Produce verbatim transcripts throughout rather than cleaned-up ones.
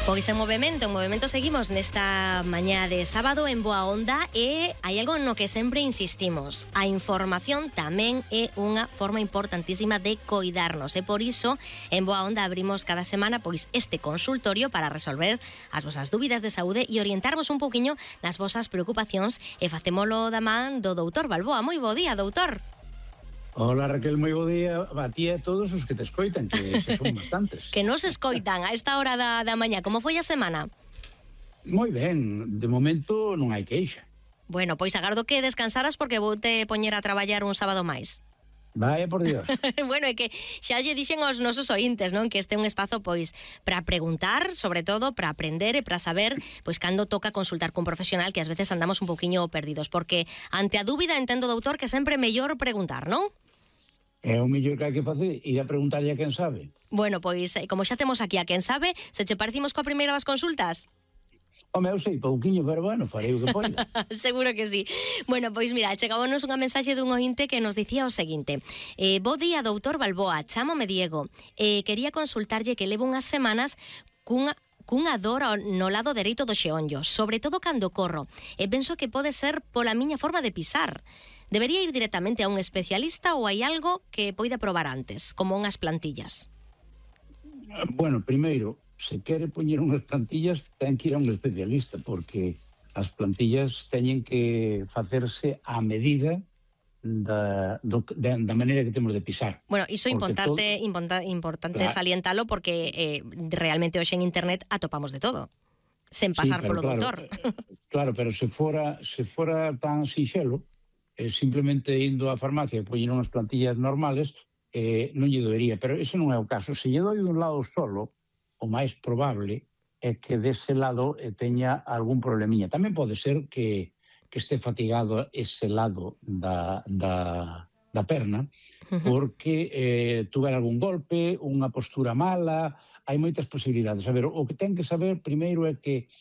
Pois en movimento, en movimento seguimos nesta mañá de sábado en Boa Onda e hai algo no que sempre insistimos. A información tamén é unha forma importantísima de coidarnos e por iso en Boa Onda abrimos cada semana pois este consultorio para resolver as vosas dúbidas de saúde e orientarvos un pouquiño nas vosas preocupacións e facémolo da man do doutor Balboa. Moi bo día, doutor. Hola Raquel, moi bo día a ti e a todos os que te escoitan, que se son bastantes. Que nos escoitan a esta hora da, da mañá. Como foi a semana? Moi ben, de momento non hai queixa. Bueno, pois agardo que descansaras porque vou te poñer a traballar un sábado máis. Vaya por Dios. Bueno, é que xa lle dixen aos nosos ointes, non? Que este é un espazo, pois, para preguntar, sobre todo, para aprender e para saber, pois, cando toca consultar cun profesional, que ás veces andamos un poquinho perdidos, porque ante a dúbida entendo, doutor, que sempre é mellor preguntar, non? É o mellor que hai que facer, ir a preguntarlle a quen sabe. Bueno, pois, como xa temos aquí a quen sabe, se che parecimos coa primeira das consultas? Home, eu sei pouquiño, pero bueno, farei o que poida. Seguro que sí. Bueno, pois mira, chegámonos unha mensaxe dun ointe que nos dicía o seguinte. Eh, bo día, doutor Balboa, chámome Diego. Eh, quería consultarlle que levo unhas semanas cunha cunha dor no lado dereito do xeonllo, sobre todo cando corro, e penso que pode ser pola miña forma de pisar. Debería ir directamente a un especialista ou hai algo que poida probar antes, como unhas plantillas? Bueno, primeiro, se quere poñer unhas plantillas, ten que ir a un especialista, porque as plantillas teñen que facerse a medida da, do, da, da maneira que temos de pisar. Bueno, iso é importante, todo... importante, importante claro. Salientalo, porque eh, realmente hoxe en internet atopamos de todo, sen pasar sí, polo claro, doutor. Claro, pero se fora, se fora tan sinxelo, eh, simplemente indo á farmacia e poñer unhas plantillas normales, eh, non lle doería, pero ese non é o caso. Se lle doi dun lado solo, o máis probable é que dese lado eh, teña algún problemiña. Tamén pode ser que, que este fatigado ese lado da, da, da perna, porque eh, tuver algún golpe, unha postura mala, hai moitas posibilidades. A ver, o que ten que saber primeiro é que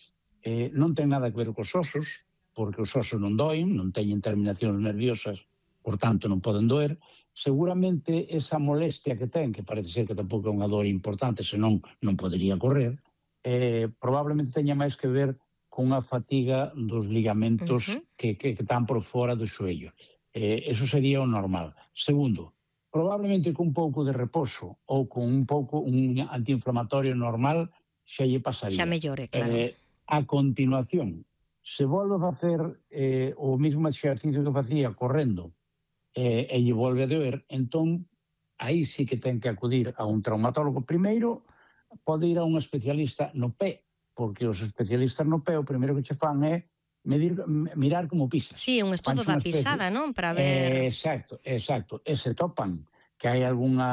eh, non ten nada que ver cos osos, porque os osos non doen, non teñen terminacións nerviosas, por tanto non poden doer. Seguramente esa molestia que ten, que parece ser que tampouco é unha dor importante, senón non podería correr, eh, probablemente teña máis que ver con unha fatiga dos ligamentos uh-huh. que, que, que están por fora do xoello. Eh, eso sería o normal. Segundo, probablemente con un pouco de reposo ou con un pouco un antiinflamatorio normal xa lle pasaría. Xa mellore, claro. Eh, a continuación, se volve a facer eh, o mesmo exercicio que facía correndo eh, e lle volve a doer, entón aí sí que ten que acudir a un traumatólogo. Primeiro, pode ir a un especialista no pé, porque os especialistas no pé o primeiro que che fan é medir, mirar como pisas. Sí, un estudo da pisada, non? Para ver... Eh, exacto, exacto. E se topan que hai algunha